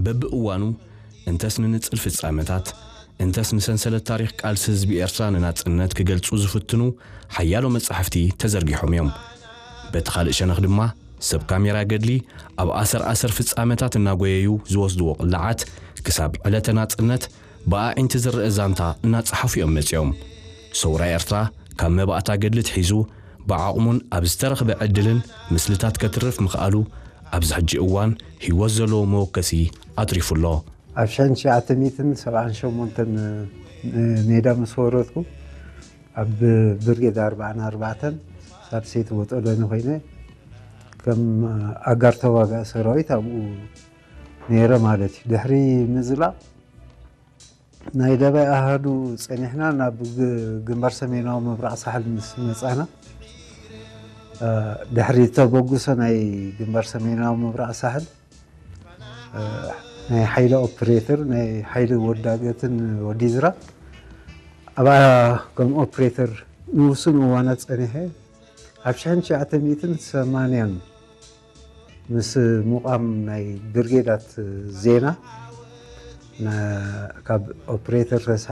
በብእዋኑ እንተስ ንንጽል ፍጻመታት እንተስ ንሰንሰለት ታሪኽ ቃልሲ ህዝቢ ኤርትራ ንናጽነት ክገልጹ ዝፍትኑ ሓያሎ መጻሕፍቲ ተዘርጊሖም እዮም። በቲ ካልእ ሸነኽ ድማ ሰብ ካሜራ ገድሊ ኣብ ኣሰር ኣሰር ፍጻመታት እናጎየዩ ዝወስድዎ ቅላዓት ክሳብ ዕለተ ናጽነት ብኣዒንቲ ዝረአ ዛንታ እናጸሓፉ እዮም መጺኦም። ሰውራ ኤርትራ ካብ መባእታ ገድሊ ትሒዙ ብዓቕሙን ኣብ ዝተረኽበ ዕድልን ምስልታት ከትርፍ ምኽኣሉ ኣብዚ ሕጂ እዋን ህይወት ዘለዎ መወከሲ ኣትሪፉ ኣሎ። ኣብ ሽሕን ትሽዓተ ሚእትን ሰብዓን ሸሞንተን ሜዳ ምስ ወረድኩ ኣብ ብርጌድ ኣርባዓን ኣርባዕተን ሳልሰይቲ ወጠሎኒ ኮይነ ከም ኣጋር ተዋጋኢ ሰራዊት ኣብኡ ነይረ ማለት እዩ። ድሕሪ ምዝላቕ ናይ ደባይ ኣሃዱ ጸኒሕና ናብ ግ- ግንባር ሰሜናዊ ምብራቕ ሳሕል ምስ መጻና እ፣ ድሕሪ ተበግሶ ናይ ግንባር ሰሜናዊ ምብራቕ ሳሕል እ፣ ናይ ሓይሊ ኦፕሬተር ናይ ሓይሊ ወዳገትን ወዲዝራ ኣብኣ ከም ኦፕሬተር ንውሱን እዋናት ጸኒሐ ኣብ ሽሕን ትሽዓተ ሚእትን ሰማንያን ምስ ምቋም ናይ ብርጌዳት ዜና ና- ካብ ኦፕሬተር ተስፋ